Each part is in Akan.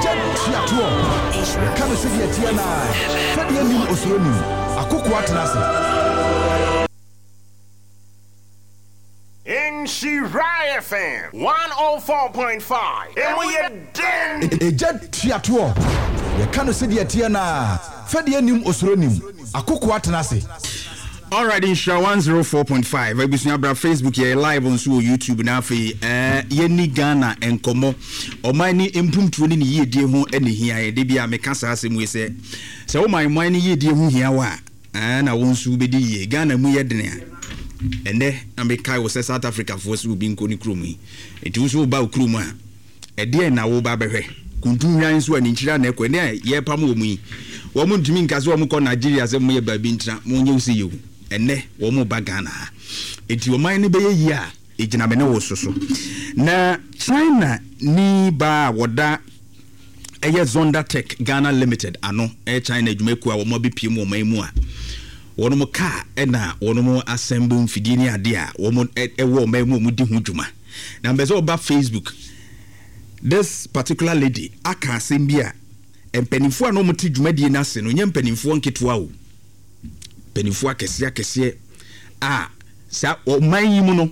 Egya tua toɔ. Yɛka no sɛdeɛ ɛteɛ no ara. Fɛdeɛ nnim osuro nnim. Akokoa tena ase. Nhyira FM 104.5, emu yɛ den. Egya tua toɔ. Yɛka no sɛdeɛ ɛteɛ no ara. Fɛdeɛ nnim osuro nnim. Akokoa tena ase. Alright Nhyira 104.5 abusua bra Facebook yɛyɛ live nso wɔ YouTube na afei eh, yɛni Ghana nkɔmmɔ ɔman ne mpumtuo ne ne yiedie ho na hia yɛ de bi a meka saa asɛm wei sɛ sɛ wo man man ne yiedie ho hia wo a eh, na wo nso wobɛdi yie Ghana mu yɛ dene a ɛnɛ na mekae wo sɛ South Africa foɔ sɛ obi nkɔ ne kurom yi nti wo nso woba wo kurom a Ɛdeɛn na woreba abɛhwɛ? Kuntu hwan nso a ne nkyiri ara na ɛkɔ? Ɛnne a yɛrepam wɔn yi, wɔn ntumi nka sɛ wɔkɔ Nigeria sɛ wɔyɛ baabi ntena, wɔnyɛ wo sei o. Ɛnnɛ wɔreba Ghana ha. Enti ɔman no bɛyɛ yie a, ɛgyina me ne wo so so. Na China ni baa a wɔda ɛyɛ Zonda Tech Ghana Limited ano, ɛyɛ China adwumakuo a wɔn abɛpue mu ɔman mu a wɔn kaa ɛna wɔn assemble mfidie ne adeɛ a wɔn ɛwɔ ɔman mu a wɔdi ho dwuma. Na mepɛ sɛ ɔba Facebook. This particular lady aka asɛm bi a mpanimfoɔ a na wɔte dwumadie no ase no nyɛ mpanimfoɔ nketewa o. Mpanimfoɔ akɛseɛ akɛseɛ a saa ɔman yi mu no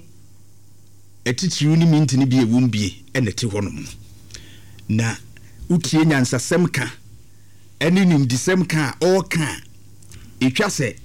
atitiriw ne mintini bi a ɛwɔ mu bie na ɛte hɔnom no. Na wotie nyansasɛm ka ne nimdesɛm ka a ɔreka a, ɛtwa sɛ.